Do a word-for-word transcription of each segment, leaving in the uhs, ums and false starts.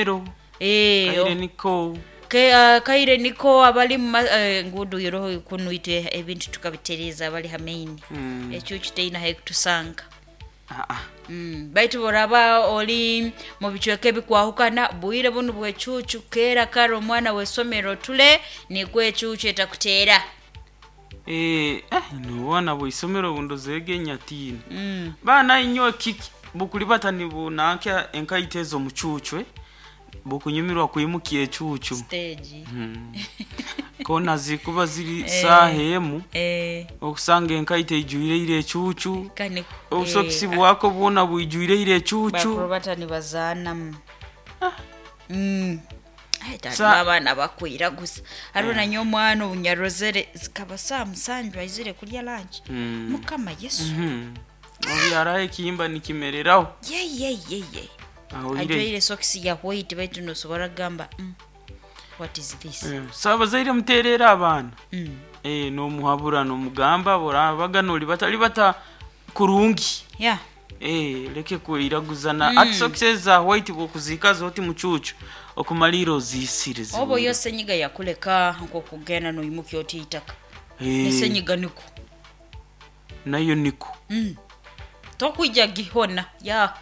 isomero. Eh, Kaire niko. Ke, uh, kaire niko abali mu ma- eh, ngudu yoroho kunuite ebintu tukabitereza abali hamaini. Mm. Ekyo kiteina hekutusanga. Ah, ah. Mm. Baitu boraba oli mu bicweka ebikwahukana, bwire bunu bwecucu kera kare omwana w'esomero tule nikwo ecucu etakuteera. Eh, eh, nobwana bw'isomero bundozeege nyatiina. Mm. Baana inywe kiki bukulibata nibunanka enkaito ezo mucucwe bukunyumirwa kwimukia ecucu. Stage. Mm. Kona zikuba ziri saaha emu, Eh, okusanga enkaito eijwireire ecucu, kane obusokisi bwako bwona bwijwireire ecucu. Bakurubata nibazaanamu. Mm. Ai, tata, Sa- abaana bakwiraguza. Hariho nanye omwana obunyarozere zikaba saa musanju aizire kurya lanki. Mm. Mukama Yesu. Mhm. Obyaraho ekihimba nikimereraho. Ye ye ye ye. Aho ire. Ajwaire sokisi ya white baitu nosobora kugamba, mm, what is this? Eh, so abazaire muteerera abaana. Mm. Eh, nomuhabura nomugamba borabaga nolibata libata kurungi. Yeah. Eh, leke kwiraguzana. Ati sokisi eza white bwokuzikaza oti mucucu okumalira ozisire Oba ziwire. yo senyiga yakuleka nk'okugenda noyimuka oti itaka. Eh, Nesenyiga niko. Nayo niko. Mm. Tokwija gihona. Ya.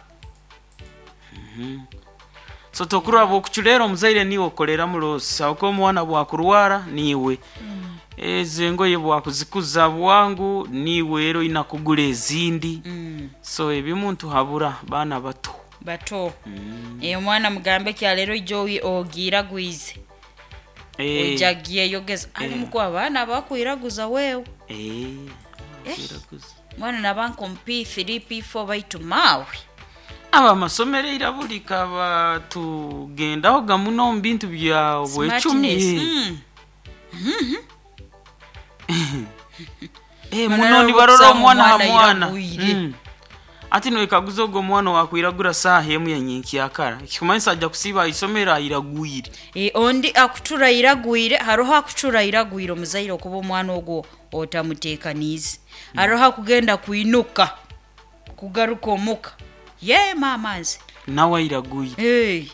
So tokuraba okuculeera omuzaire niwe okolera mulosi aho omwana bwakurwara niwe ezo engoye bwakuzikuza bwangu niwe era oyina kugula ezindi. Mm. So ebimu ntuhabura baana bato. Bato. Eh, omwana mugambe kyaleero ijo ogiiragwize. Eh, Ojagiye yogeza ali muku abaana bakwiraguza wewe. eh, Eh. kwiraguza. Mwana nabanka omu P three, P four baitu maawe. Aba amasomero eirabulika batugendaho gamuno omu bintu bya bwecumi. Smartness. Mm. Eh, Mana muno rero nibarora okusanga omwana ha omwana mwana. iragwire. Mm. Ati noikaguza ogwo omwana wakwiragura saaha emu yanyenkyakara kikumanyisa ajja kusiiba aisomero airagwire. Eh, ondi akutura iragwire, haroho akutura iragwire omuzaire okuba omwana ogwo otamuteekaniize. Haroho akugenda kwinuka kugaruka omuka ye maama nze. Nawe airagwire. Hey.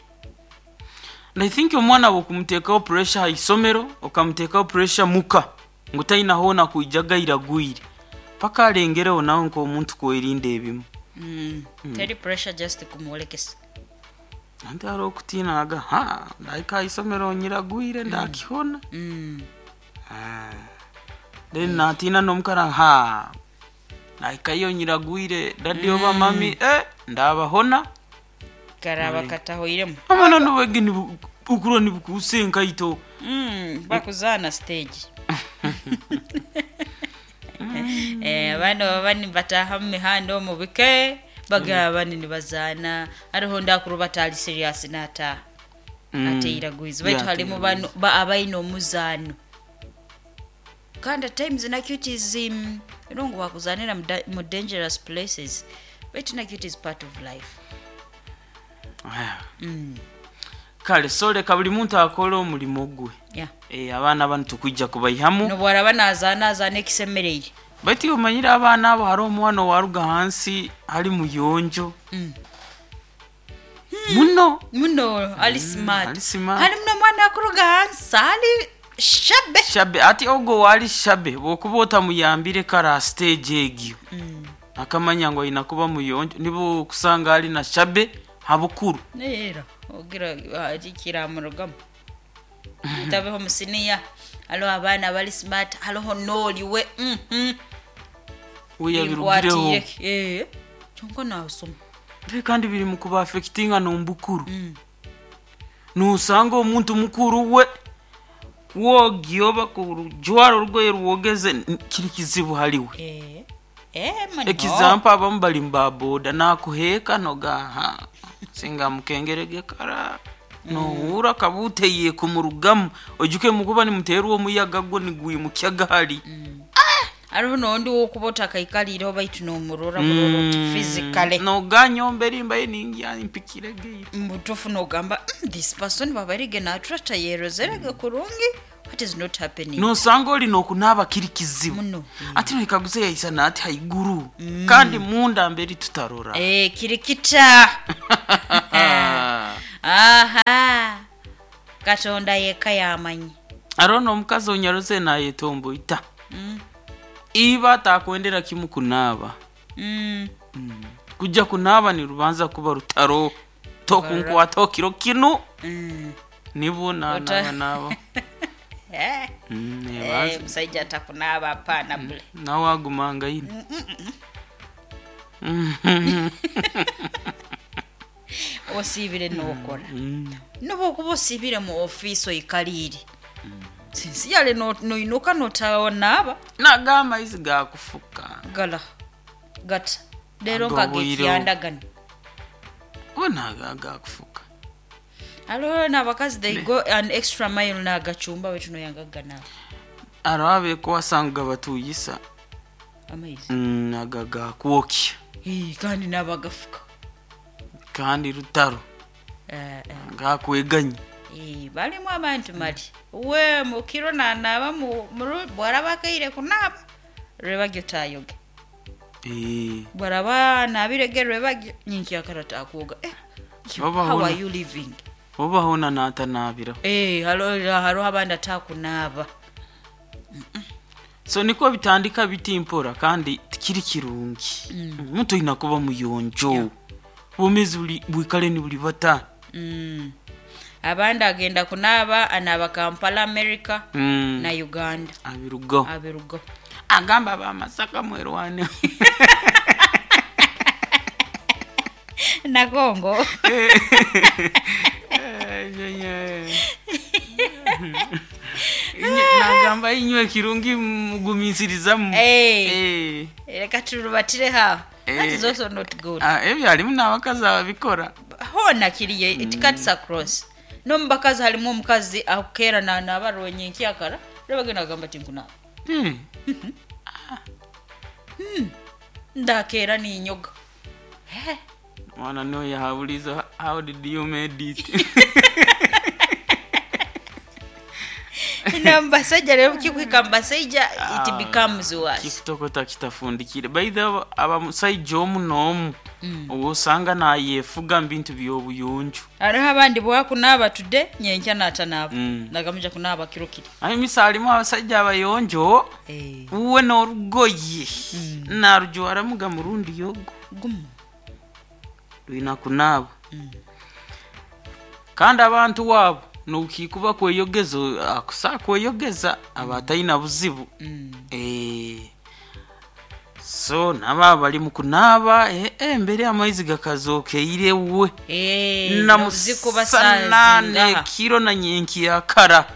And I think omwana bwokumuteekaho pressure ha isomero, okamuteekaho pressure muka ngu taina hoona kwijaga iragwire paka alengereho nawe nk'omuntu kwerinda ebimu. Mm. Teri pressure, just kumwolekesa. Anti hariho okutiina aga ha ndahika ha isomero nyiragwire ndakihona. Mm. Ah. Then natiina nomukara ha nahikayo nyiragwire daddy oba mummy, eh, ndabahona. Karaba katahoiremu. Amana nobwege okurwa nibukuusa enkaito. Mm, bakuzaana stage. Eh, abaana baba nibataaha mu mihanda omu bike bagaba bani nibazaana, hariho ndakuru batali serious nataaha Mm. ateiragwize baitu Yeah, halimu bano ba abaine omuzaano kandi at times nakyo it is um, you know, ngu bakuzaanira mu da- mu dangerous places, baitu nakyo it is part of life. Ah. mm. Kale so leka buli muntu akole omulimu gwe. yeah. Eh, abaana bano tukwija kubaihamu. Nobwaraba nazaana azaana ekisemereire. Baitu omanyire abaana abo hariho omwana owaruga hansi ali muyonjo mm. muno. Muno ali smart. Ali smart. Ali muno omwana akuruga hansi ali shabe. Shabe ati ogwo wali shabe bwokuba otamuyambire kara stage egyo Mm. akamanya ngu aina kuba muyonjo nibo okusanga ali na shabe habukuru. Era ogira kiramurugamu tabeho musiniya haliho abaana bali smart, haliho nooliwe mhm. We yabirugireho. Binkwatiire. Eh, kyonka nasoma. Mbe kandi biri mu kuba affectinga nombukuru. Mm. Nosanga omuntu mukuru we kwogya kurujwara orugoye rwogeze n- kiri kizibu haliwe. Eh, eh, muno. Example, abamu bali mubaboda nakuheeka nogaha singa mukengerege kara nohura kabuteye kumurugamu ojuke mukuba nimuteerwa omuyaga gwo nigwimukya gahali. Hariho nondi wokuba otakaikalirireho baitu nomurora burora oti physically. Noganyomba erimba ye ningya mpikiregeire. Mubutuufu nogamba, "Mm, this person babarige naturata yerozerege kurungi, what is not happening?" Nosanga oli nokunaaba kiri kizibu. Muno. Ati noikaguza yaisana ati haiguru kandi munda mberi tutarora. Eh, kirikita. Aha. Katonda yekka yamanyi. Aro n'omukazi onyaruze nayetomboita. Mm. Iba atakwendera kimu kunaaba. Mm. Kujja kunaaba nirubanza kuba rutaro tokunkwata okiro kinu. Mm. Nibwo Ota- nanaaba naaba. Eh, Mm, eh, nebanza musajja atakunaaba apaana bule. nawe agumanga yine. Osiibire n'okora. Mm. Noba okuba osiibire mu ofiisi oikaliire. Sinsi yale no- noinuka notaonaaba. Naga amaizi gakufuka. Gala gata leero Agobwire. nkagekyandagana. Gonaga gakufuka. Aliho n'abakazi they go an extra mile n'agacumba baitu noyangaganaaba Aro abeeko wasanga batuyisa. amaizi. Mm, aga gakwokya. Eh, kandi n'abagafuka. Kandi rutaro. Eh, eh. Gakweganya. Eh, balimu abantu mali we mukiro nanaaba mu- muru- bwaraba akaire kunaaba rwebagyo tayoge. Eh. Bwaraba naabirege rwebagyo nyenkyakara takwoga. Eh, Oba how hona. are you living? Oba hona natanaabira. Eh, halo hariho abandi atakunaaba. So niko bitandika bitimpora kandi tikiri kirungi. Omuntu oyina kuba muyonjo. Obwomeezi buli bwikale nibuli bata. Mm. Abandi agenda kunaaba anaaba Kampala, America Mm. na Uganda. Abirugaho. Abirugaho. Agamba abamasaka mwerwane. Na Congo. Nagamba inywe kirungi mugumisirizamu. Eh. Eh. Reka turubatire haho. That is Eh. also not good. Ah, ebyo harimu n'abakazi ababikora. Hona kiriye it cuts across. N'omubakazi harimu omukazi akukeera nanaaba rwenye nkyakara rwebagenda agamba ati nkunaaba. Eh. Ndakeera ninyoga. Eh. Mwana no yahabuliza how did you made it? Na mubasajja rero kikuhika mubasajja it becomes worse. Kikutokota kitafundikire. By the way, abamusajja omu n'omu osanga nayefuga mu bintu by'obuyonjo. Hariho abandi bwakunaaba today nyenkya natanaaba. Mm. Nagamuja kunaaba kiro kiri. Aye misa harimu abasajja abayonjo Eh. uwe n'orugoye narujwaramuga murundi yogo. Gumu. Rwina kunaaba. Kandi abantu waabo nokikuba kweyogeza akusa kweyogeza aba atalina buzibu. Mm. Eh. So naba bali mu kunaaba eh, eh, mbere amaizi gakazookeire we. Eh, nozikuba Namusana saazingaha. nekiro na nyenki yakara.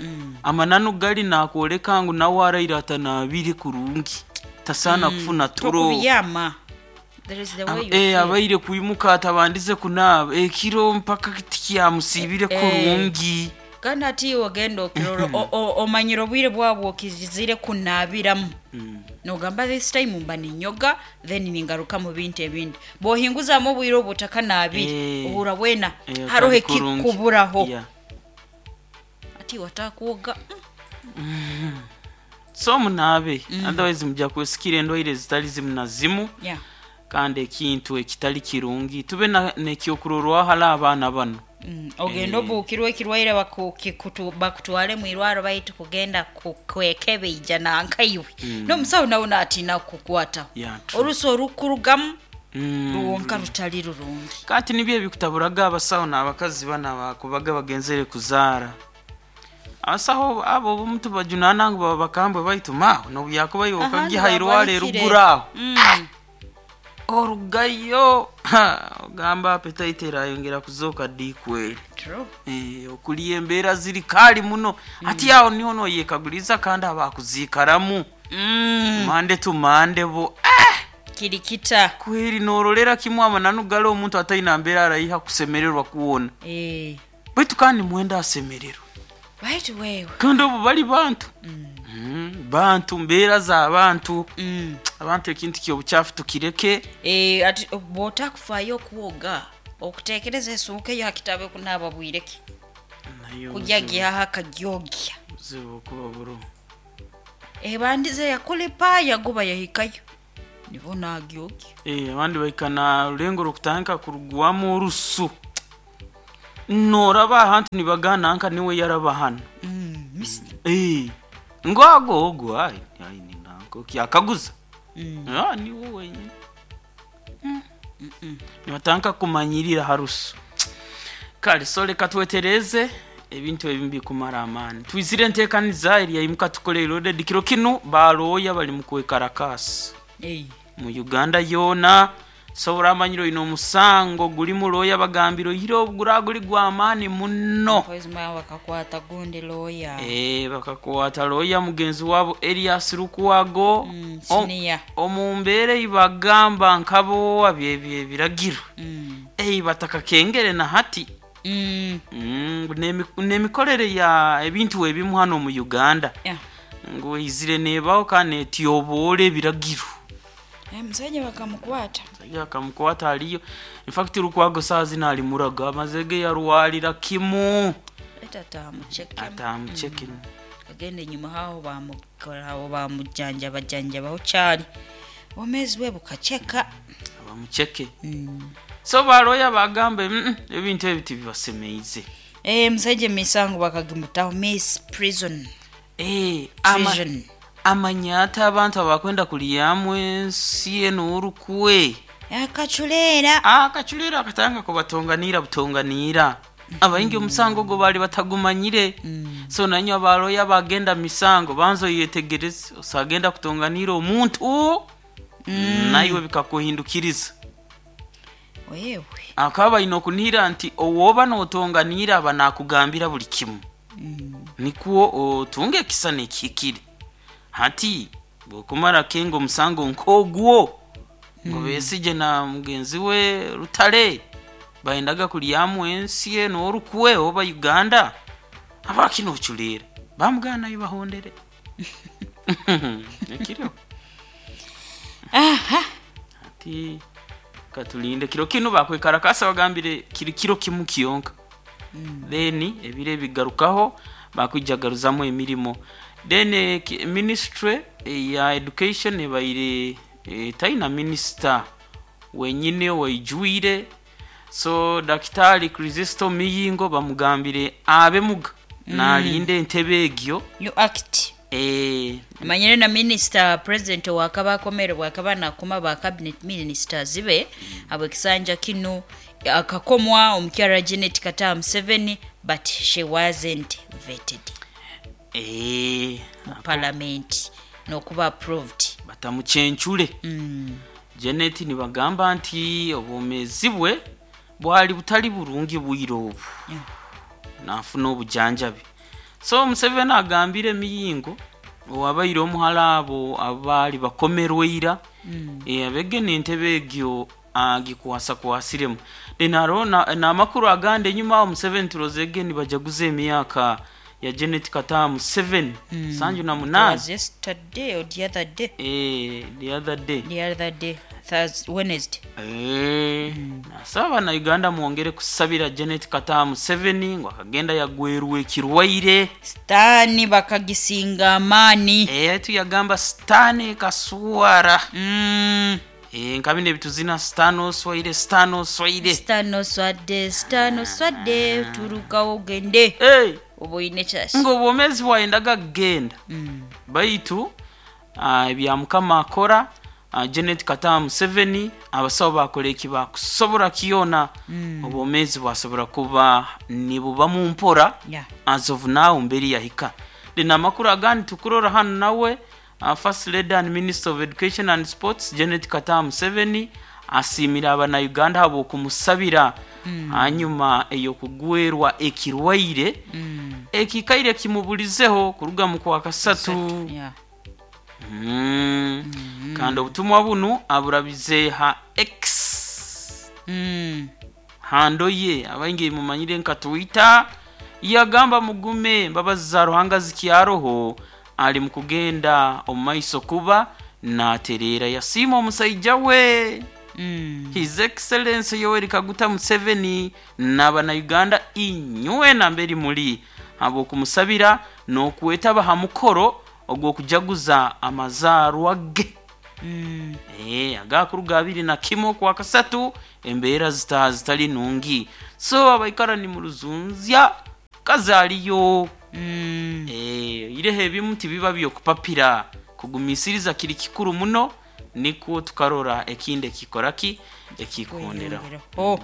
Amananu gali nakwoleka ngu nawe araire atanaabire kurungi. Tasaana kufuna turo. Tokubiyama. There is the way you Eh, feel. abaire kwimuka atabandize kunaaba ekiro mpaka tikyamusiibire Eh. kurungi. Kandi ati iwe ogenda okirora o- o- omanyire obwire bwabwo okizire kunaabiramu. Nogamba this time mba ninyoga then ningaruka mu bintu ebindi. Bw'ohinguzamu obwire obwo otakanaabire Eh. ohura bwena Eh, hariho otari kurungi. ekikuburaho. Yeah. Ati wataakwoga. Mm. So munaabe otherwise mujja kwesikira endwaire zitali zimu na zimu. Yeah. Kandi ekintu ekitali kirungi tube na- nekyokurorwaho hali abaana bano. Mm. Ogenda obuukirwe ekirwaire baku- kikutu- bakutwale mu irwaro baitu kugenda ku- kwekebeija nankaiwe. N'omusawo nawe naatiina kukukwataho. Yeah, true. Orusi orukurugamu Mm. rwonka rutali rurungi. Kati nibyo ebikutaburaga abasawo n'abakazi bana bakubaga bagenzere kuzaara. Abasawo abo obumu tubajunaana ngu baba bakambwe baitu maawe nobu yakuba iwe Ahandi okagiha irwaro babarikire. eruguru aho. Mm. Orugayo ha, ogamba appetite erayongera kuzooka diikweri. True. Eh, okulya embeera ziri kaali muno. Ati awo niho noyekaguliza kandi abakuziikaramu. Mm. Mande tu mande bo. Ah! Kirikita. Kweri norolera kimu amananu gale omuntu atalina mbeera arayiha kusemererwa kuwona. Eh. Baitu kandi mwenda asemererwa. Baitu wewe. Kandi obu bali bantu. Mm. Bantu mbeera z'abantu. Mm. Abantu ekintu ky'obukyafu tukireke. Eh, ati bw'otakufaayo okwoga okuteekereza esuuka eyo hakitabe kunaaba bwireke. Nayo Kujya buzibu- gihaha akagyogya. buzibu okuba buro. Ebandize yakulipa yaguba yahikayo. Nibo nagyogya. Eh, abandi bahika na rulengo rukutandika kurugwamu orusu. Noraba ahantu nibagana nka niwe yaraba hano. Mm, mis- Eh, ngo ago ogo ai ai ni nanko kyakaguza. Mm. Ah, ni wowe wenyine. Mm. Nibatanka kumanyirira harusu. Kale so reka twetereze ebintu ebimu bikumara amaani. Twizire enteekaniza eri yaimuka tukole loaded kiro kinu balooya bali mu kwekarakasi Ei. mu Uganda yoona. Sobora amanyire oyina omusango guli mu looya bagambire oyire ogura guli gw'amaani muno. Mpozi mwa bakakwata gundi lawyer. Eh, bakakwata looya mugenzi waabo Erias Lukwago. Mm, O- senior. omu mbeera ei bagamba nkabo byebyo ebiragiro. Mm. Ei batakakengere na hati. Mm. Mm, n'emi- n'emikorere ya ebintu ebimu hano mu Uganda Yeah. ngu eizire neebaho kandi netyoboora ebiragiro. Eh, musajja bakamukwata. Musajja bakamukwata aliyo. In fact Lukwago saa zino ali muraga amaze ge yarwalira kimu. Eta atamucheke. Atamucheke. Agenda enyuma aho bamukoraho bamujanjaba janjabaho kyali. Obwomeezi bwe bukaceka. Bamucheke. Mm. So baloya bagambe mm, ebintu ebi tibibasemeize. Eh, musajja emisango bakagimutaho miss prison. Eh, ama, Prison. amanyata abantu abakwenda kulyamu ensi eno orukwe. Akaculeera. Akaculeera akatanga kubatonganiira butonganiira. Abaingi omusango ogwo baali batagumanyire. So nanywe abaloya bagenda misango banza oyetegereze osagenda kutonganiira omuntu naiwe bikakuhindukiriza. Wewe. Akaba baine okunihira nti owoba notonganiira aba nakugambira buli kimu. Nikwo otunge ekisa nekihikire. Hati bwokumara kenga omusango nk'ogwo ngo Besigye na mugenzi we Rutare bayendaga kulyamu ensi eno orukwe oba Uganda abakino oculeera bamuganayo bahondere. Ekiriho. Aha. Ati katulinde kiro kinu bakwekarakasa bagambire kiri kiro kimu kiyonka. Then ebiro ebigarukaho bakwijagaruzamu emirimo. Then eh, ki- ministry eh, ya education ebaire eh, taina minister wenyine waijwire. So Daktari Kristo Miyingo bamugambire abe muga nalinde entebe egyo. New act. Eh, Manyire na minister president wakaba akomere bwakaba nakoma ba cabinet ministers be abwekisanja kino akakomwa omukyala Janet Kataha Museveni, but she wasn't vetted eh, mu parliament nokuba approved. Batamucencure. Mm. Janet nibagamba nti obwomeezi bwe bwali butali burungi bwire obu. Yeah. Nafuna obujanjabi. So Museveni agambire Miyingo owabaire omuhala abo abaali bakomerweira. mm. E, abegene entebe egyo agikwasakwasiremu. Then hariho n'amakuru agandi enyuma aho Museveni turozege nibajaguza emyaka ya Janet Kataha Museveni. mm. Sanju na It munana. was yesterday or the other day. Eh, the other day. The other day, Thursday, Wednesday. Eh, nasaba bannayuganda mwongere kusabira Janet Kataha Museveni ngu akagenda yagwerwa ekirwaire. Sitaani bakagisinga amaani. Eh, tuyagamba sitaani kaswara. Mm. Eh, nka bino ebituzina sitaani oswaire, sitaani oswaire. Sitaani oswadde, sitaani oswadde, turukawo ogende. Eh, Oba oyine kyasi. ng'obwomeezi bwayendaga kugenda. Mm. Baitu ah, ebya Mukama akora, ah, Janet Kataha Museveni abasawo bakola eki bakusobora kyona. Obwomeezi bwasobora kuba nibuba mu mpora. Yeah. As of now mberi yahika. Then amakuru agandi tukurora hano nawe uh, First Lady and Minister of Education and Sports Janet Kataha Museveni asiimira abannayuganda abo okumusabira hanyuma ey'okugwerwa ekirwaire. Mm. Ekikaire kimubulizeho kuruga mu kwa kasatu. Yeah. Mm. Kandi obutumwa bunu aburabize ha X Mm. hando ye abaingi mumanyire nka Twitter. Yagamba mugume mbabazi za Ruhanga zikyaroho ali mukugenda omu maiso kuba natereera. Yasiima omusaija we. Mm. His Excellency Yoweri Kaguta Museveni n'abannayuganda inywe namberi muli habw'okumusabira n'okwetaba ha mukoro ogw'okujaguza amazaarwa ge. Mm. Eh, agakuruga abiri na kimwe kwa kasatu embeera zita zitali nungi so abaikara ni mu ruzunzya kazaliyo. Mm. Eh, ireho ebimu tibiba byokupapira kugumisiriza kiri kikuru muno nikwo tukarora ekindi ekikoraki ekikonderaho. Oh.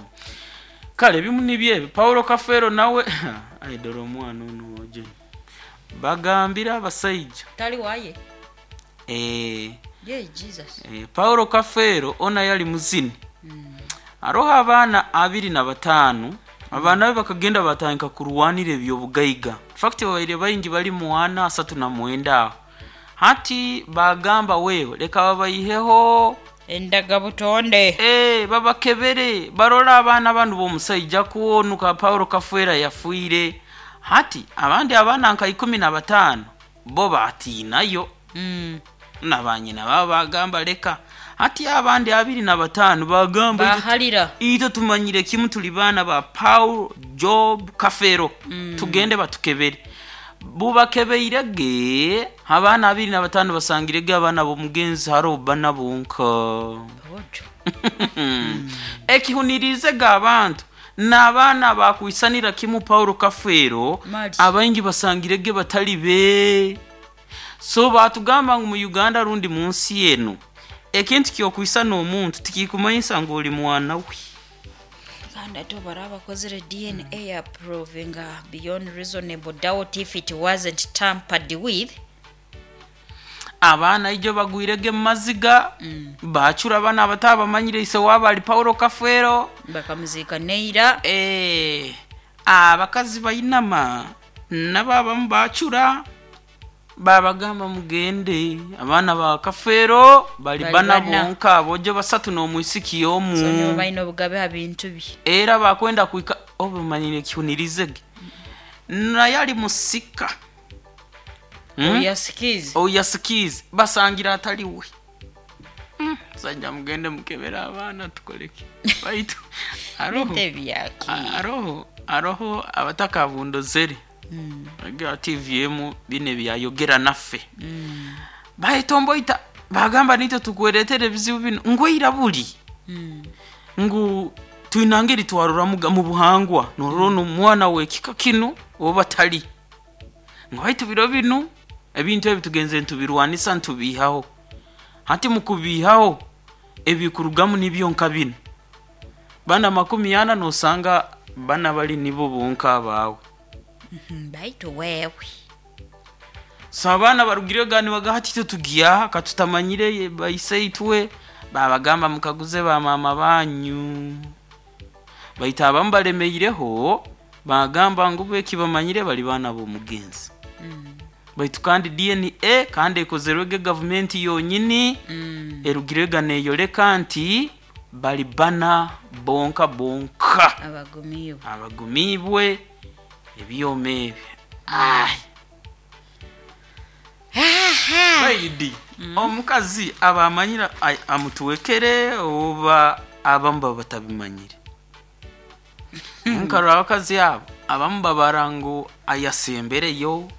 Kale ebimu nibyo ebi Paulo Kafeero nawe aidora omwana ono oje bagambira abasaija Tali waye. eh, Ye Jesus. eh, Paulo Kafeero ona yali muzini aroho abaana abiri na bataano abaana be bakagenda batandika kurwanira ebyobugaiga fact babaire baingi bali muwana asatu na mwenda aho hati bagamba wewe leka babaiheho Endaga butonde. Eh, babakebere barora abaana banu b'omusaija kwonuka Paulo Kafeera yafiire hati abandi abaana nka ikumi na bataano bo batiinayo Mm. na banyina babo bagamba leka hati abandi abiri na bataano bagamba "Itwe- Bahalira. itwe tumanyire kimu tuli baana ba Paul Job Kafeero mm. tugende batukebere bubakebeire ge abaana abiri na bataano basangire ge abaana b'omugenzi hariho bana bonka. Ojo. Ekihunirize ga abantu n'abaana bakwisanira kimu Paulo Kafeero Mali. abaingi basangire ge batali be so batugamba ngu mu Uganda rundi mu nsi eno ekintu kyokwisana omuntu tikikumanyisa ngu oli mwana we. Kandi ate bara abakozere D N A ya proving uh, beyond reasonable doubt if it wasn't tampered with. Abaana ijo bagwirege mu maziga bacura abana abatabamanyire ise waabo ali Paulo Kafeero. Bakamuziika neira. Eh, abakazi bainama nabo abamu bacura babagamba mugende abaana ba Kafeero bali Bali bana bana. bonka bojo basatu n'omwisiki omu. So nibo balina obugabe ha bintu bye. Era bakwenda kuika obumanyire kihunirizege naye ali musika. Hmm? Oyasikize. Oyasikize basangira ataliwe. Mm, sajja mugende mukebera abaana tukoleke baitu aroho Tebyaki. aroho aroho abatakabundozere Mm. agira T V M bine byayogera naffe Mm. bahitomboita bagamba nitwe tukweretere ebizibu bino ngweira buli Mm. ngu twinangeri twarora muga- mu buhangwa norora omwana wekika kino oba tali ngu baitu biro bino ebintu ebi tugenze ntubirwanisa ntubihaho hati mukubihaho ebikurugamu nibyo nka bino bana makumi ana nosanga bana bali nibo bonka abawe. Mhm, baitu wewe. So abaana barugire gani bagahati twe tugiyaha katutamanyire ye- baise itwe babagamba mukaguze ba mama banyu baita abamu balemeireho bagamba ngu beki bamanyire bali baana b'omugenzi Mm. baitu kandi D N A kandi ekozerwege gavumenti yonyini Mm. erugirega neyoleka nti bali bana bonka bonka Abagumiibwe. Abagumiibwe ebyoma ebyo. Ai. Baidi omukazi aba amanyira ai- amutuwekere oba abamu baba batabimanyire nkarora abakazi abo abamu babara ngu ayasembereyo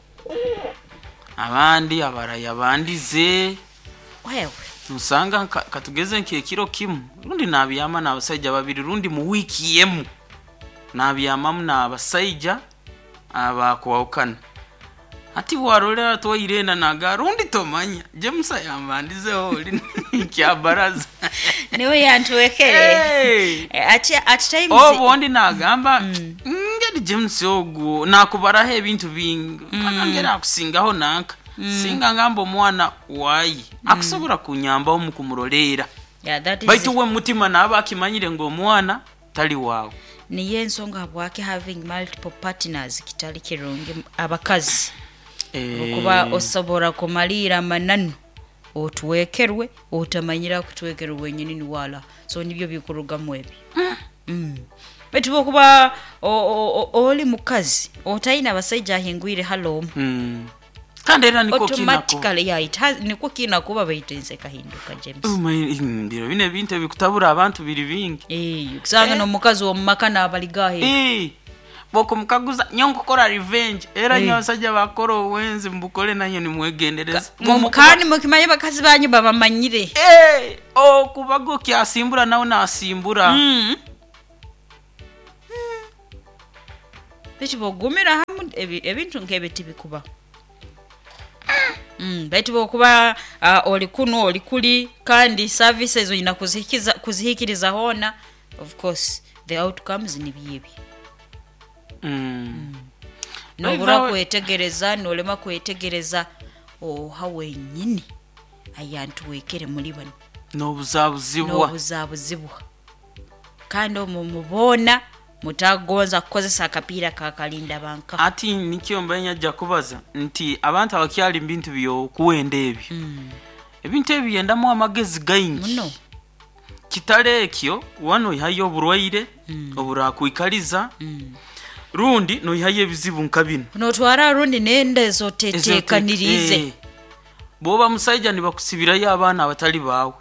abandi abarayabandize. Wewe. Nusanga nka- katugeze nk'ekiro kimu rundi nabyama n'abasaija babiri rundi mu wiiki emu nabyamamu n'abasaija abakwawukana ati warolera twairenda naga rundi tomanya James yambandizeho oli kyabaraza. Niwe yantuwekere. Hey! Eh, at, at times Obundi nagamba ngeri James ogwo nakubaraho ebintu bingi mpaka ngeri akusingaho nanka singa ngamba omwana wayi akusobola kunyambaho mukumuroleera. Yeah, that is baitu we mutima naaba akimanyire ngu omwana tali waawe. Niyo ensonga habwaki having multiple partners kitali kirungi abakazi okuba osobola kumaliira amananu otuwekerwe otamanyira kutuwekerwe wenyini niwala so nibyo bikurugamu ebyo. Mm. Baitu bwokuba o- o- o- oli mukazi otalina abasaija ahingwire halomu Mm. kandi era niko kinako automatically, yeah, it has, nikwo kinakuba baitu ensi ekahinduka, James. biro bino ebintu ebikutabura abantu biri bingi. Eh, kusanga n'omukazi w'omumaka n'abaligahe. Eh, Bokumukaguza nyo nkukora revenge era Eh. nyo abasajja bakora obwenzi mbukole nanyo nimwegendereza. Mu- kandi mukimanye bakazi banyu babamanyire. Eh, okubaga okyasimbura nawe nasimbura. Mm. Baitu bwogumira hamu ebi- ebintu nk'ebyo tibikuba. Mm, baitu bwokuba uh, oli kuno oli kuli kandi services oyina kuzihikiza kuzihikiriza hoona, of course the outcomes nibyo ebyo. Mm. Nobura By the way- kwetegereza, nolema kwetegereza oha wenyini ayantuwekere muri bano. N'obuzabuzibwa. N'obuzabuzibwa kandi omwo muboona mutagonza kukozesa akapiira kakalinda banka. Ati nikyo mbaye nyajja kubaza nti abantu abakyali mu bintu byokuwenda ebyo, ebintu ebyo byendamu amagezi gaingi. Muno. Kitale ekyo wano oihayo oburwaire oburakwikaliza rundi noihayo ebizibu nka bino. Notwara rundi nenda ezotetekanirize. Eh, bwoba musaija nibakusibirayo abaana abatali baawe.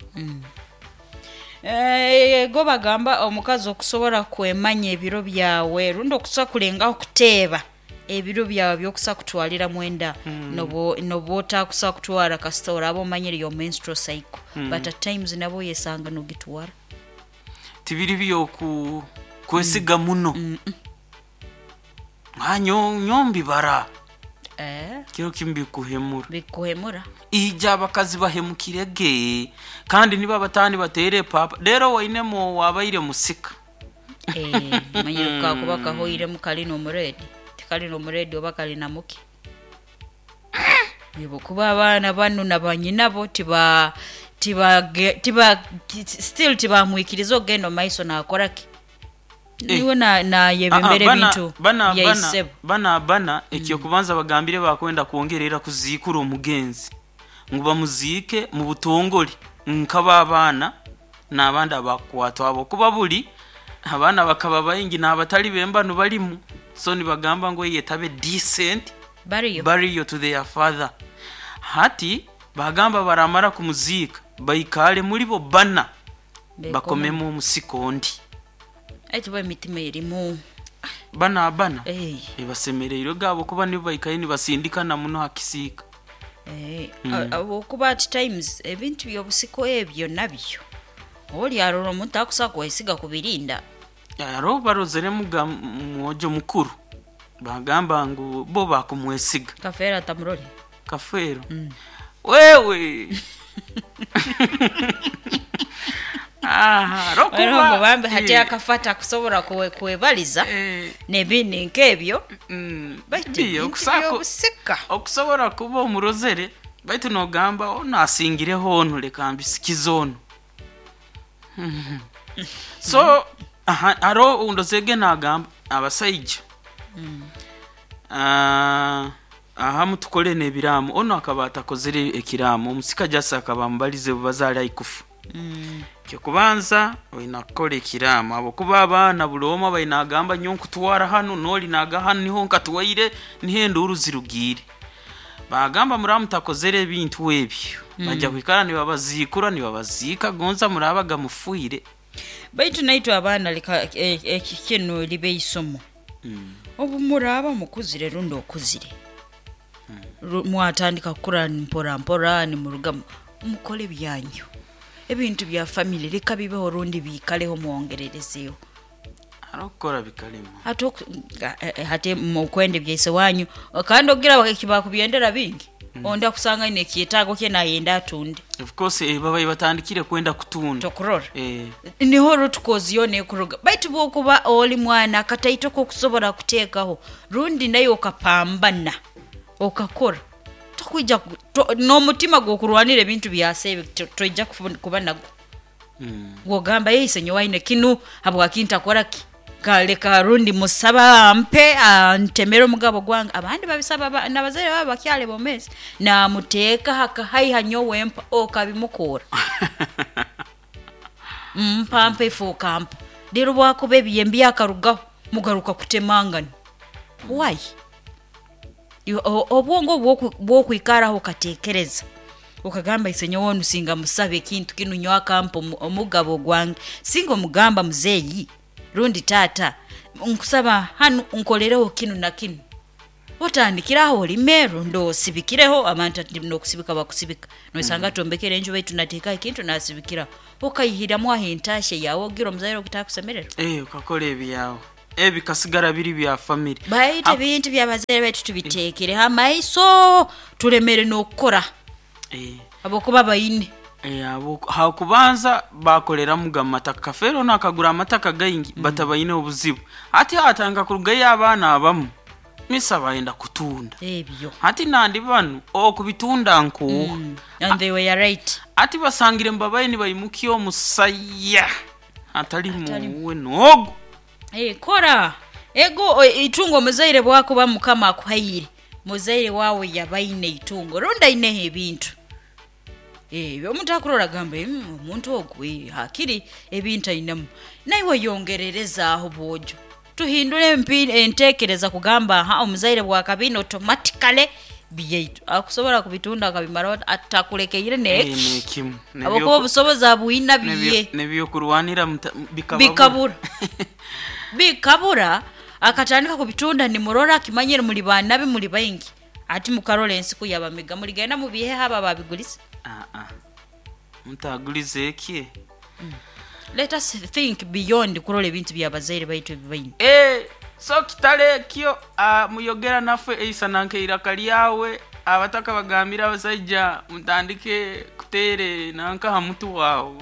Eh, go bagamba omukazi okusobola kwemanya ebiro byawe rundi okusa kulengaho kuteeba ebiro byawe byokusa kutwalira mwenda, nobo noba otakusa kutwara kasita oraba omanyire your menstrual cycle, but at times nabo yesanga nogitwara. Tibiri byoku kwesiga muno. Ah, nyo nyombibara eh, kiro kimu bikuhemura. Bikuhemura. Ija abakazi bahemukirege kandi niba batani batere papa rero wainemo wabaire musika. Eh, manyire kakuba kahoiremu kali n'omuredi tikali n'omuredi oba kali na muki nibo kuba abaana bano na banyinabo tiba tiba tiba still tibamwikiriza okugenda omu maiso nakoraki niwe na- nayebembera Ah, ah, bana- ebintu bana- bana byaisebo. bana bana ekyokubanza bagambire bakwenda kwongerera kuziikura omugenzi ngu bamuziike mu butongole nk'ababaana n'abandi abakwatwa abo kuba buli abaana bakaba baingi n'abatali bembanu balimu, so nibagamba ngu eyetabe decent bariyo burial to their father. Hati bagamba baramara kumuziika baikale muri bo bana bakomemu omusiko ondi. Eti bo emitima erimu Bana bana Eh, ebasemereirwe gabo kuba nibo baikaye nibasindikana muno hakisiika. eh, a- okuba at times ebintu byobusiko ebyo nabyo oli arora omuntu akusa kwesiga kubirinda. Aro barozeremu ga mwojo mukuru bagamba ngu bo bakumwesiga. Kafeera tamurori. Kafeero wewe. Aha, Waliho rokuba ngo bambe hati Eh, akafata kusobola kwe- kwebaliza eh, n'ebindi nk'ebyo. mm, Baitu biyo, ebintu okusako- byobusika okusobola kuba omurozere baitu nogamba ono asingireho ono leka mbisikize ono. Mhm. So aha, aro ndozege nagamba abasaija, Ah, ahamu tukole n'ebiraamo. Ono akaba atakozere ekiraamo, omusika jasi akaba amubalize bwe bazaali aikufa. Kyokubanza olina kukola ekiraamo abo kuba abaana buli omwe baina agamba nyo nkutwara hano noli naga hano niho nkatwaire niho enduuru zirugiire. Bagamba muraba mutakozere ebintu ebyo bajja kwikara nibabaziikura nibabaziika gonza murabaga mufuire. Baitu naitwe abaana leka e- eki kinu libe isomo. Obu muraaba mukuzire rundi okuzire, Ru- mwatandika kukura mpora mpora nimuruga mu- mukole byanyu, ebintu bya family leka bibeho rundi biikaleho mwongererezeyo. Hariho okukora bikalema. Hati oku- ga- eh, eh, hati mukwenda ebyaise wanyu kandi ogira bakubyendera bingi, ondi akusanga aine ekyetaago kye nayenda atunde. Of course, eh, babaye batandikire kwenda kutunda. Tokurora Eh, niho root cause nekuruga. Baitu bwokuba oli mwana akataito kokusobola kuteekaho rundi naye okapambana okakora tokwija ku- to- n'omutima gw'okurwanira ebintu byase ebyo to- toija kufu- kuba nagwo. mm. Gwogamba yeise nyowaine kinu habwaki ntakoraki kaleka rundi musaba ampe antemere omugabo gwange. Abandi babisaba ba- nabazaire babo bakyali bomezi namuteeka hakahaiha nyowe mpa okabimukura mpa mpa ife okampa rero bwakuba ebiyembi yakarugaho mugaruka kutemangana. Why? Yo- o- obwongo bwoku- bwokwikaraho okatekereza okagamba ise nyowe onu singa musabe ekintu kinu nyowe akampa omu- omugabo gwange, singa omugamba muzeeyi rundi taata. Nkusaba hanu nkolereho kinu na kinu. Otandikiraho olime rundi osibikireho abantu ati nokusibika bakusibika. Nosanga tombekere enju baitu nateeka ekintu nasibikiraho. Okaihiramu aho entashe yawe ogira omuzaire ogutakusemererwa. Eh, ukakora ebyawe ebikasigara biri bya family. Baitu ebintu byabazaire baitu tubiteekereho amaiso turemere n'okukora Eh, habwokuba baine. eh, abo- hakubanza bakoreramuga amataka kafeero nakagura amataka gaingi mm. batabaine obuzibu ati atanga kurugayo abaana abamu misa bayenda kutunda Ebyo. ati nandi banu okubitunda nkuuha Mm. And they were right. Ati basangire mbabaye nibaimukia omusaya atali muwe nogo. Eh, kora ego o- itungo omuzaire bwakuba mukama akuhaire muzaire wawe yabaine itungo rundi aineho ebintu. Eh, omuntu akurora agamba "Mm, omuntu ogu eh, hakiri ebintu ainemu naiwe yongererezaaho bwojo tuhindure empi- entekereza kugamba ha omuzaire bwakabina automatically byaitu akusobola kubitunda akabimara atakulekeire Eh, neki nekimu abakuba obusobozi abwina biye nebyokurwanira muta- bikababura. bikabura bikabura akatandika kubitunda nimurora akimanyire muri banabi muri baingi ati mukarora ensiku yabamiga muligenda mubihe haba babigulisa. Ah, ah. Mutagulize eki. Let us think beyond kurora ebintu byabazaire baitu ebibaine. Eh, so kitale ekyo ah, muyogera naffe eisa nanke iraka lyawe abataka bagambira abasajja mutandike kutere nanka ha mutu wawe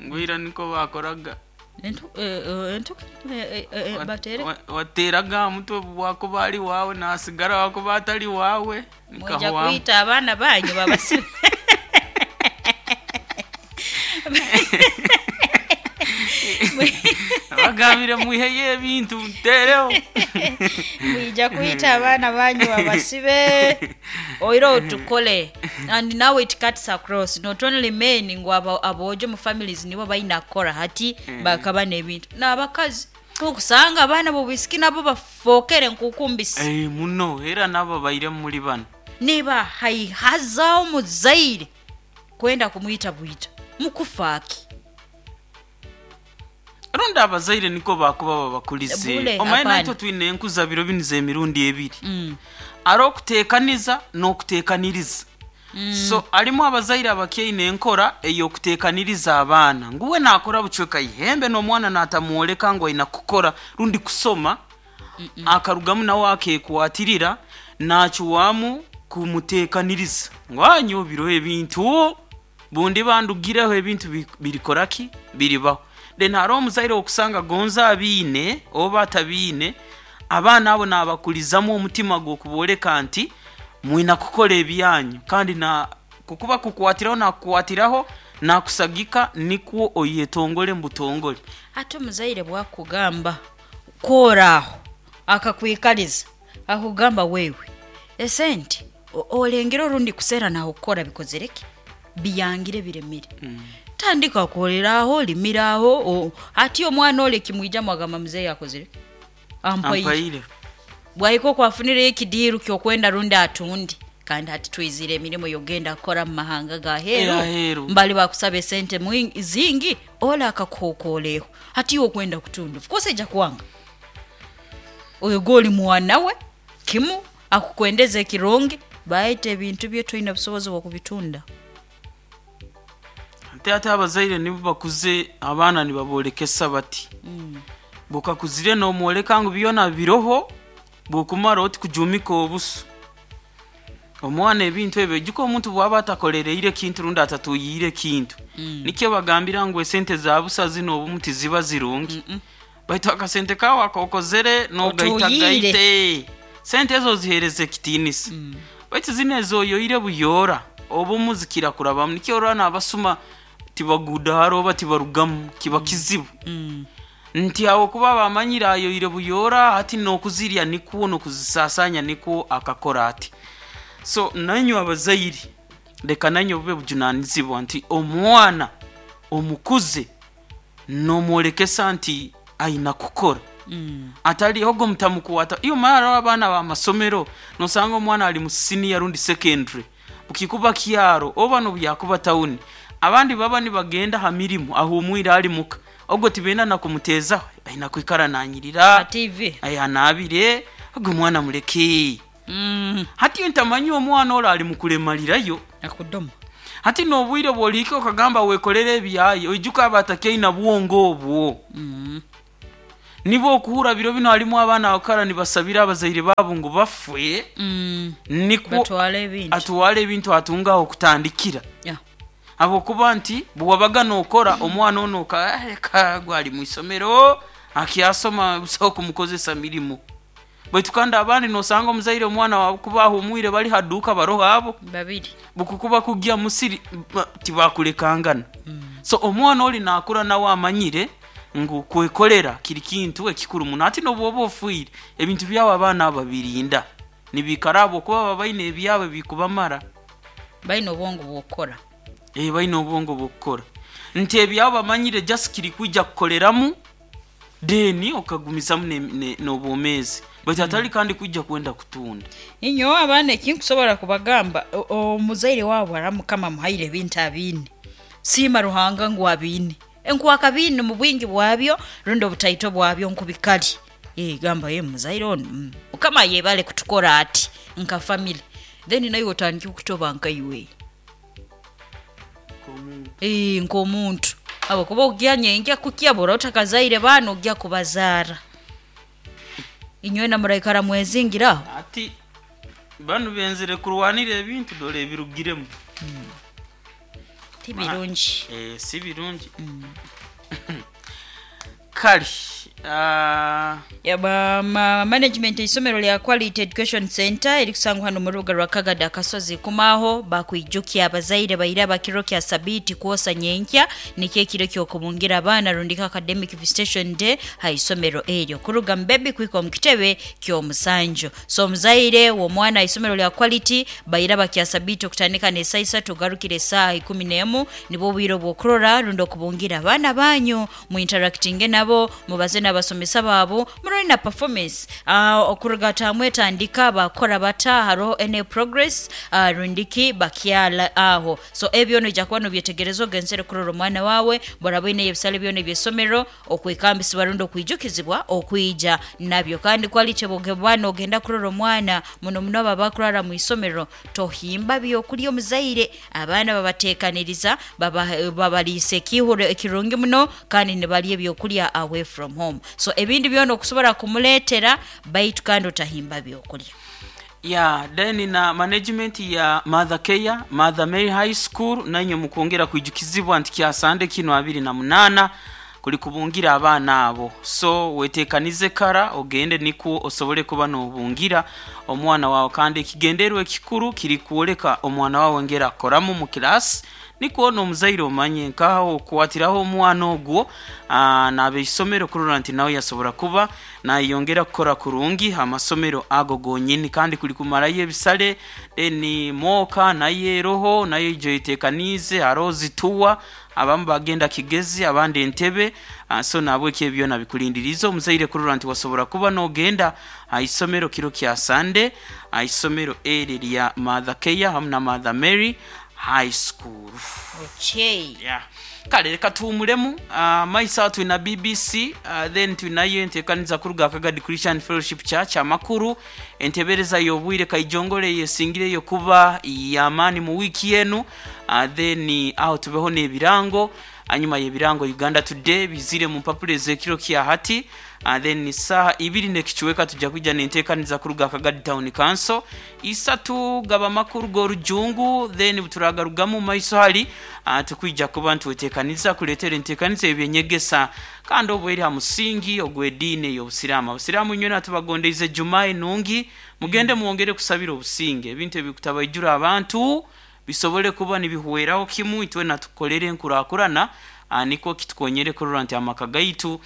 ngwira niko bakoraga. Entu- eh, eh, entuke eh, eh, eh, Wa- batere wa- wateraga ha mutwe wakuba ali wawe nasigara wakuba atali wawe mwija nikahowamu. kuyita abaana banyu babasibe. Abagambire mwiheyo ebintu mutereho. Mwija kuyita abaana banyu babasibe oira otukole. And now it cuts across not only men ngu abo- aboojo mu families nibo baina kukora hati bakaba n'ebintu n'abakazi okusanga abaana bobwisiki nabo bafookere nkukumbisi. Eh, muno era nabo baire muri bano Niba haihaza omuzaire kwenda kumwita bwita mukufaaki. Rundi abazaire niko bakuba babakulize Bule, omaye hapana. naitwe twine enkuza biro biniza emirundi ebiri Mm. ari okuteekaniza n'okuteekaniriza. So alimu abazaire abakyaine enkora ey'okuteekaniriza abaana nguwe naakora bucweka ihembe n'omwana naatamwoleka ngu aina kukora rundi kusoma akarugamu nawe akekwatirira nakiwamu kumuteekaniriza ngu anyo biro ebintu bundi bandugireho ebintu bi- birikoraki biribaho. Then hariho omuzaire okusanga gonza abiine oba atabiine abaana abo nabakulizamu omutima gw'okubooleka nti mwina kukora ebyanyu kandi na kukuba kukwatiraho nakukwatiraho nakusagika nikwo oyetongole mbutongole. Ate omuzaire bwakugamba kworaaho akakwikaliza akugamba wewe esente o- olengera orundi kuseera nawe kukora bikozereki biyangire biremire. Tandika kukoleraho olimiraho o- ati omwana ole kimwijamu agamba muzeeyi akozere ampaire. Ampaire. Bwahika okwafunireyo ekidiiru kyokwenda rundi atundi kandi hati twizire emirimu yogenda kukora mu mahanga ga heru. Aheeru. Mbali bakusaba esente mwingi- zingi ole akakuhokoleho hati iwe okwenda kutunda of course ejja kwanga oyo gwoli mwana we kimu akukwendeza ekirungi baita ebintu bye toine busobozi bwokubitunda. Ate ate abazaire nibo bakuze abaana nibabolekesa bati bukakuzire nomwoleka ngu byona biroho bwokumara oti kujumika obusu omwana ebintu ebyo ojjuka omuntu bwaba atakolereire kintu rundi atatuyiire kintu nikyo bagambira ngu esente za busa zino obumu tiziba zirungi baitu akasente kawe akokozere nogaita Otuyiire. gaite sente ezo zihereza ekitiinisa baitu zino ezoyoire buyoora obumu zikira kurabamu nikyo orora nabasuma tibagudaara oba tibarugamu kiba kizibu nti awo kuba bamanyire ayoire buyoora hati nokuzirya nikwo nokuzisasanya nikwo akakora ati. So nanywe abazaire leka nanywe bube bujunanizibwa nti omwana omukuze nomwolekesa nti aina kukora atali ogo mutamukwata iyo mara abaana bamasomero nosanga omwana ali mu senior rundi secondary bukikuba kyaro oba nobyakuba tawuni abandi baba nibagenda ha mirimu ahumwire ali muka ogo tibenda na kumuteza Aina kwikara nanyirira T V aya nabire ogwo mwana muleke. Mm. Hati ntamanyi omwana ora ali mukulemalirayo akudoma. Hati nobwire bwolike okagamba wekolere ebyayi oijuka abatakeina bwongo obwo. Mm. Nibo okuhura biro bino halimu abaana bakara nibasabira abazaire babo ngu bafwe. Mm. Nikwo batwale ebintu atwale ebintu atungaho okutandikira. Yeah. Abo kuba nti bwabaga nokora omwana ono ka gwali mu isomero akyasoma busaho kumukozesa mirimo. Baitu kandi abandi nosanga omuzaire omwana wawe kubaho omwire bali haduka baroho abo babiri bukukuba kujya musiri tibakulekangana. Mm. So omwana oli nakura nawe amanyire ngu kwekolera kiri kintu ekikuru muno. Ati nobwoba ofuire ebintu byawe abaana ababirinda nibikarabo kuba babaine ebyawe bikubamara baine obwongo bwokora. Eh baine obwongo bwokora nti ebyawe bamanyire just kiri kujja kukoleramu deni okagumizamu n'obwomezi baitu atali kandi kujja kwenda kutunda. Inyo abaana ekinkusobola kubagamba omuzaire waabwe aramukama muhaire ebintu abine siima Ruhanga ngu abine enkwaka bine mu bwingi bwabyo rundi obutaito bwabyo nkubikali. Eh gamba ye muzaire ono mm. Mukama yebale kutukora ati nka family then nayo otandike kutoba nka iwe eh nkomuntu abo kuba ogyanye njya kukyabura otakazaire bano ogya kubazara inywe na muraikara mwezingira ati banu benzere kurwanira ebintu dole ebirugiremu. Mm. Ti birungi. Eh si birungi. Mm. Kali uh... ya ba ma, management isomero lya Quality Education Center erikusangwa hano mu rubuga rwa Kagada Kasozi kumaho bakwijukia abazaire baira bakiro kya sabiti kuosa nyenkya nikye kiro kyo kubungira abana rundika academic visitation day ha isomero eryo kuruga mbebi kwiko mukitebe kyo musanjo. So muzaire wo mwana isomero lya Quality baira bakya sabiti okutandika ne saa isatu garukire saa ikumi n'emu nibo bwiro bwokurora rundo kubungira abana banyu mu interacting nabo mubaze n'abasomesa babo murori na performance uh, okuruga tamwe tandika bakora bata haro ene progress uh, rundiki bakyala aho. So ebyo no jakuba no byetegerezo genzere kurora omwana wawe borabine ebisale byo nebyesomero okwekambisa barundo okwijukizibwa okwija nabyo kandi Quality bogebwana ogenda kurora omwana muno muno abakurara mu isomero tohimba byo kuli omuzaire abaana babatekaniriza babalise kihuro ekirungi muno kandi ne bali ebyo kulya away from home. So ebindi byona okusobola kumuletera baitu kandi otahimba byokulya. Ya then na management ya Mother Care Mother Mary High School nanyo mukongera kwijukizibwa nti kyasande kino abiri na munana kuli kubungira abaana abo. So wetekanize kara ogende niko osobole kuba nobungira omwana wawe kandi ekigenderwe ekikuru kiri kuoleka omwana wawe ngera akoramu mu class niko n'omuzaire omanye nkaho okukwatiraho omwana ogwo n'abeisomero kurora nti nawe yasobora kuba nayongera kukora kurungi amasomero ago gonyini kandi kuli kumarayo ebisale ni moka naye roho naye ijo itekanize arozi tuwa abamu bagenda Kigezi abandi Entebe. So nabwe ebyo nabikulindiriza omuzaire kurora nti wasobora kuba nogenda aisomero kiro kya Sunday aisomero eri lya Mother Care hamu na Mother Mary High School. Okay. Yeah. Kale reka tuwumulemu uh, maisa twina B B C uh, then twinayo enteekaniza kuruga Kagadi Christian Fellowship Church amakuru entebereza y'obwire kaijongole yesingireyo kuba yamani mu wiki yenu uh, then aho tubeho n'ebirango anyuma y'ebirango Uganda Today bizire mu mpapuro z'ekiro kya hati uh, then saha ibiri nekichweka tujja kujja n'enteekaniza kuruga Kagadi Town Council isatu gaba makuru gorujungu then buturagarugamu maiso hali uh, tukwijja kuba ntuwetekaniza kuletera enteekaniza ebyenyegesa kandi obweri ha musingi ogw'ediini ey'obusiraamu. Abasiraamu nywena tubagondeize Jumaa enungi mugende mwongere kusabira obusinge ebintu ebikutabaijura abantu bisobole kuba nibihweraho kimu itwe tukolere enkurakurana niko kitukonyere kurora nti amaka gaitu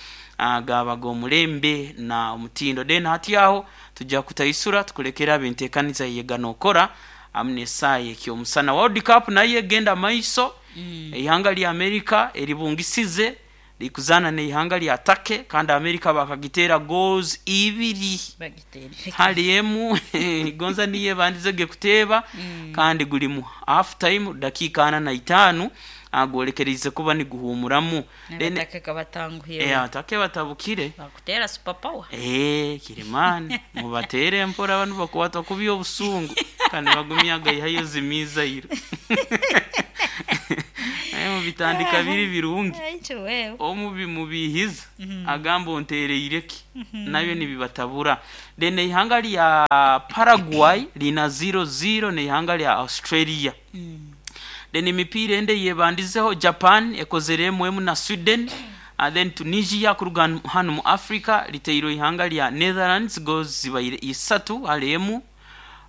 gaba g'omulembe na omutindo. Then hati aho tujja kutaisura tukulekera abenteekaniza yegana okora amune esaaya ekyomusana World Cup naye egenda maiso. Mm. Ihanga lya America eribungisize Likuzana neihanga lya Turkey, kandi America bakagitera goals ibiri Bagiteerire. Hali emu gonza niye bandizege kuteeba mm. Kandi guli mu half time, dakika ana na itaano agwolekereize kuba niguhumuramu. Then- N'abataka batanguhire. eh, Turkey batabukire. Bakutera super power. Eh, kirimani mubatere mpora, abantu bakwatwa kubi obusungu kandi bagumyaga ihayo zimizairo naye mubitandika biri birungi. Aicho wewe. Omubi mubihiza agamba ontereireki nabyo nibibatabura. Then ihanga lya Paraguay lina zero zero neihanga lya Australia. Then emipiira ende yebandizeho, Japan ekozere emu emu na Sweden. And then Tunisia kuruga hano mu Africa liteirwe ihanga lya Netherlands, goals zibaire isatu hali emu.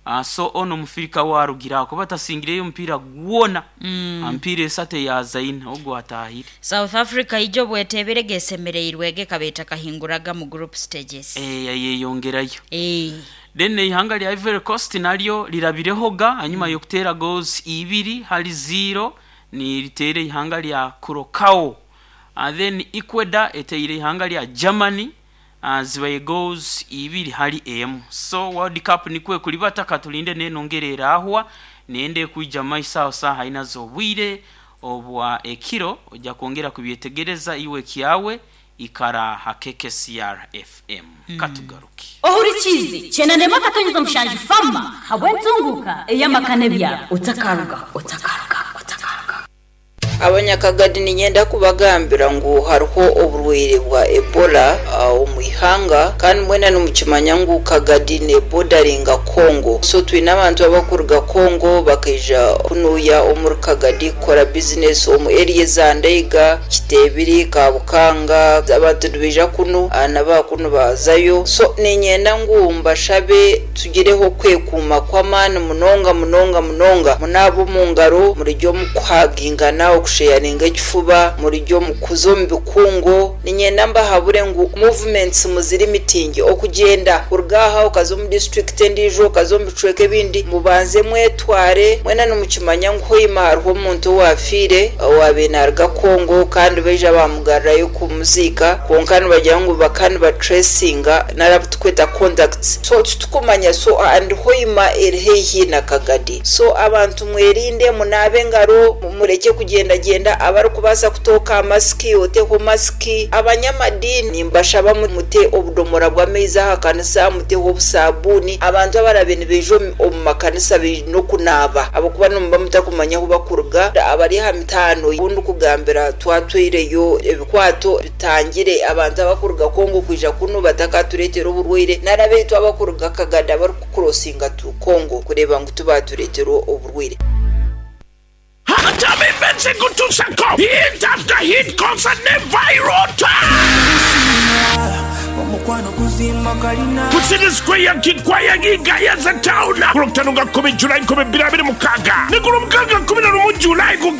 uh, so ono mufirika warugira kuba tasingireyo omupiira gwona mm. Ampiira esatu eyazaina ogwo atahire. South Africa ijo bwetebere gesemereirwe gekabeeta kahinguraga mu group stages. Eh, yayeyongerayo. Eh. Then ihanga lya Ivory Coast naryo lirabirehoga hanyuma mm. yokutera goals ibiri hali zero, ni ritere ihanga lya Curacao. And then Ecuador eteire ihanga lya Germany, uh, zibaye goals ibiri hali emu. So World Cup nikwe kulibata, katulinde nenongera ahwa nende kuija maiso aho saha ina z'obwire obwa ekiro, ojja kwongera kubyetegereza iwe kyawe ikara hakeke C R F M mm. Katugaruke. Ohurikizi chenanema katonyeza mushanju fama habwentunguka eyamakane byabo otakaruga otakaruga otakaruga. Abanyakagadi, ninyenda kubagambira ngu hariho oburwaire bwa Ebola uh, omu ihanga, kandi mwena nimukimanya ngu Kagadi nebodaringa Congo, so twine abantu abakuruga Congo bakaija kunuya omuri Kagadi kukora bizinesi omu area za Ndeiga, Kitebiri, Kabukanga. Abantu nibaija kunu uh, nabakunu bazayo, so ninyenda ngu mbashabe tugireho kwekuuma kw'amaani munonga munonga munonga. Munaaba omu ngaro, murijya omu kuhagingana, okusheyaringa ekifuba, murijya omu kuza omu bikungo. Ninyenda mbahabure ngu movements muziri mitingi, okugyenda kuruga aha okaza omu district endiijo, okaza omu bicweka ebindi, mubanze mwetware. Mwena nimukimanya ngu hoima hariho omuntu owafiire owabiire naruga Congo, kandi baija bamugarurayo kumuziika, kwonka nibagira ngu bakaba nibatracinga nari tukweta contacts, so titukumanya. So and Hoima eri haihi na Kagadi, so abantu mwerinde, munaabe engaro, mureke kugendagenda. Abarikubaasa kutooka masiki, oteho masiki. Abanyamadini mbashaba mute obudomora bw'amaizi aha kanisa, muteho obusabuuni. Abantu abarabe nibaija omu- omu makanisa baine okunaaba, ahabwokuba nimuba mutakumanya ahu bakuruga. Abari aha mitaano obundi kugambira twatwireyo ebikwato bitangire abantu abakuruga Kongo kwija kunu batakatureetera oburwaire, nari abaitu abakuruga Kagadi abarikukurosinga tu Kongo kureeba ngu tubatureetera oburwaire. Hatami Kutusako. Hit after hit, concert ne viral. Omukwano guzimba kalina. Kusini Square, Kikwaya, Gayaza Town. Ku lwokutaano nga kkumi Julai nkumi bbiri abiri mukaaga ne ku lwomukaaga kkumi na lumu Julai ku.